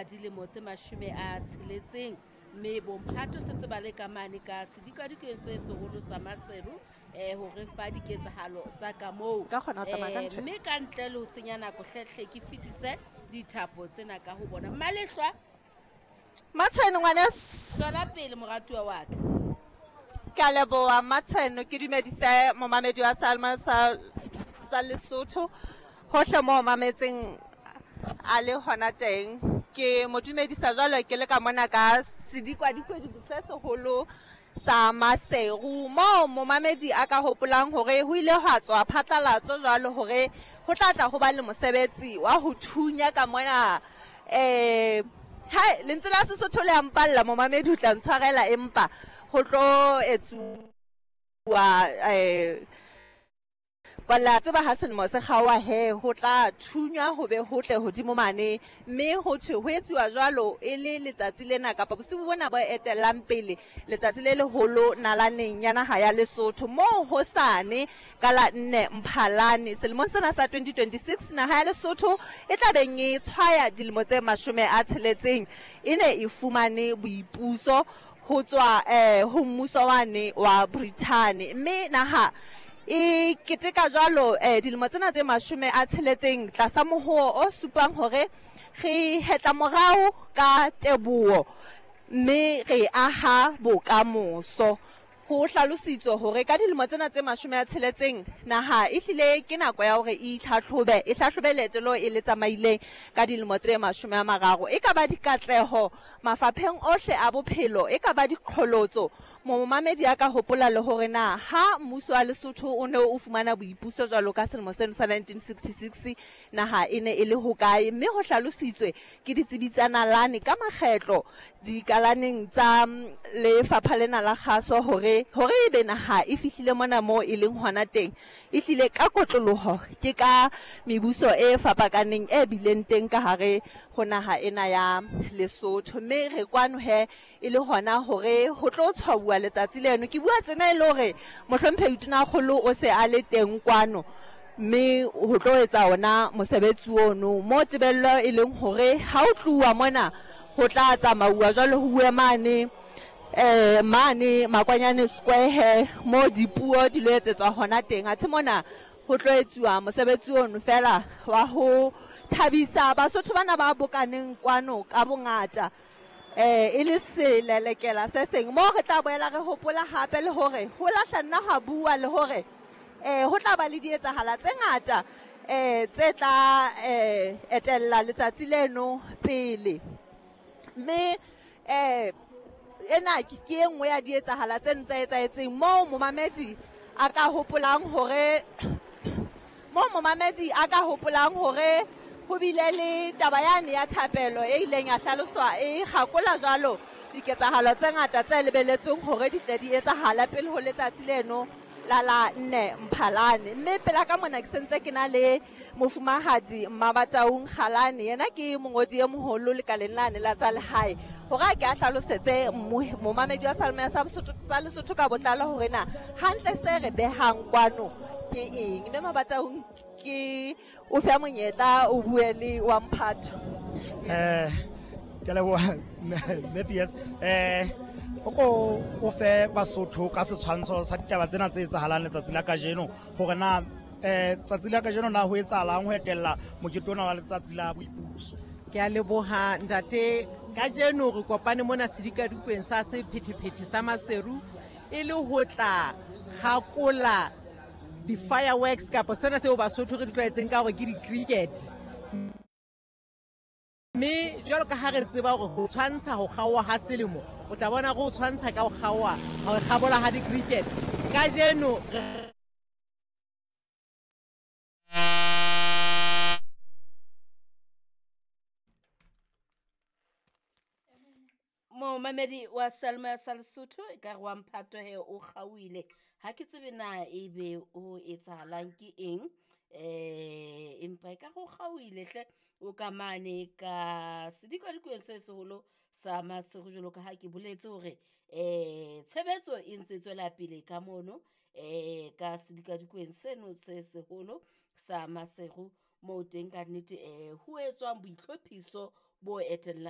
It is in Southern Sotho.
Dilemo tse 60, mme bomphato setse ba le ka mane ka sedikadikeng se seholo sa Maseru ho re fa diketsahalo tsa ka moo. Ka kgona ho tsamaya ka ntho. Mme ka ntle le ho senya nako, hlehle ke fetise dithapo tsena ka ho bona. Mmalehlwa. Matsheno ngwaneso. Tswela pele moratuwa wa ka. Ke a leboha Matsheno, ke dumedise momamedi wa Salma sa sa Lesotho hohle mo mametseng a le hona teng. Ke mo dumedisa jwalo ke le ka mona ka sedikwadikwe se seholo sa Maseru moo momamedi a ka hopolang hore ho ile hwa tswa phatlalatso jwalo hore ho tla tla ho ba le mosebetsi wa ho thunya ka mona. Hai, lentswe la Sesotho le a mpalla, momamedi o tla ntshwarela, empa ho tlo etsuwa la tseba ha selemo se kgaoha he ho tla thunywa ho be ho tle hodimo mane, mme ho thwe ho etsuwa jwalo e le letsatsi lena kapa bosibu bona bo etellang pele letsatsi le leholo nalaneng ya naha ya Lesotho moo hosane ka la 4 Mphalane selemong sena sa 2026 naha ya Lesotho e tla beng e tshwaya dilemo tse 60 e ne e fumane boipuso ho tswa ho mmuso wane wa Brithani, mme naha e keteka jwalo dilemo tsena tse 60 tlasa mohoo o supang hore re hetla morao ka teboho mme re aha bokamoso. Ho hlalositswe hore ka dilemo tsena tse 60 naha e hlile ke nako ya hore e itlhahlobe, e hlahlobe leeto leo e le tsamaileng ka dilemo tse 30. E ka ba dikatleho mafapheng ohle a bophelo, e ka ba diqholotso. Momamedi a ka hopola le hore na ha mmuso wa Lesotho o ne o fumana boipuso jwalo ka selemo seno sa 1966 naha e ne e le hokae, mme ho hlalositswe ke ditsebi tsa nalane ka makgetlo dikalaneng tsa lefapha lena la kgaso hore hore ebe naha e fihlile mona moo e leng hona teng, e hlile ka kotloloho ke ka mebuso e fapakaneng e bileng teng ka hare ho naha ena ya Lesotho. Mme re kwano he e le hona hore ho tlo tshwauwa letsatsi leno. Ke bua tjena e le hore mohlomphehi Tonakgolo o se a le teng kwano, mme ho tlo etsa ona mosebetsi ono mo tebello e leng hore ha o tluwa mona ho tla tsamauwa jwalo ho uwe mane mane Makwanyane Square he mo dipuo di lo etsetswa hona teng. Athe mona ho tlo etsuwa mosebetsi ono fela wa ho thabisa Basotho bana ba bokaneng kwano ka bongata, e le selelekela se seng moo re tla boela re hopola hape le hore ho lahla nna hwa bua le hore ho tla ba le dietsahala tse ngata tse tla etella letsatsi leno pele. Mme ena ke e nngwe ya dietsahala tseno tse etsahetseng moo momamedi a ka hopolang hore moo momamedi a ka hopolang hore ho bile le taba yane ya thapelo e ileng ya hlaloswa e kgakola jwalo diketsahalo tse ngata tse lebeletsweng hore di tle di etsahale pele ho letsatsi leno la la 4 Mphalane. Mme pela ka mona ke sentse ke na le mofumahadi Mmabataung Kgalane, yena ke mongodi e moholo lekaleng lane la tsa lehae, hore a ke a hlalosetse momamedi wa Salome sa tsa Lesotho ka botlalo hore na hantle se re behang kwano ke eng. Mme Mmabataung, ke o fe monyetla o bue le wa mphato. Ke leboha mme PS. O ko o fe Basotho ka setshwantsho sa ditaba tsena tse etsahalang letsatsi la kajeno, hore na tsatsi la kajeno na ho etsahalang ho etella mokete ona wa letsatsi la boipuso. Ke a leboha ntate. Kajeno re kopane mona sedikadikweng sa sephethephethe sa Maseru e le ho tla kgakola di-fireworks kapa sona seo Basotho re di tlwaetseng ka hore ke di-cricket. Mme jwalo ka ha re tseba hore ho tshwantsha ho kgaoha ha selemo, o tla bona re ho tshwantsha ka ho kgaoha, ho kgabola ha di-cricket. Kajeno re Momamedi wa Salma sa Lesotho e ka re wa mphato he o kgaohile, ha ke tsebe na ebe o etsahalang ke eng, empa e ka re o kgaohile hle o ka mane ka sedikadikweng se seholo sa Maseru, jwalo ka ha ke boletse hore tshebetso e ntse e tswela pele ka mono ka sedikadikweng seno se seholo sa Maseru, moo teng ka nnete ho etswang boitlhophiso bo etellang.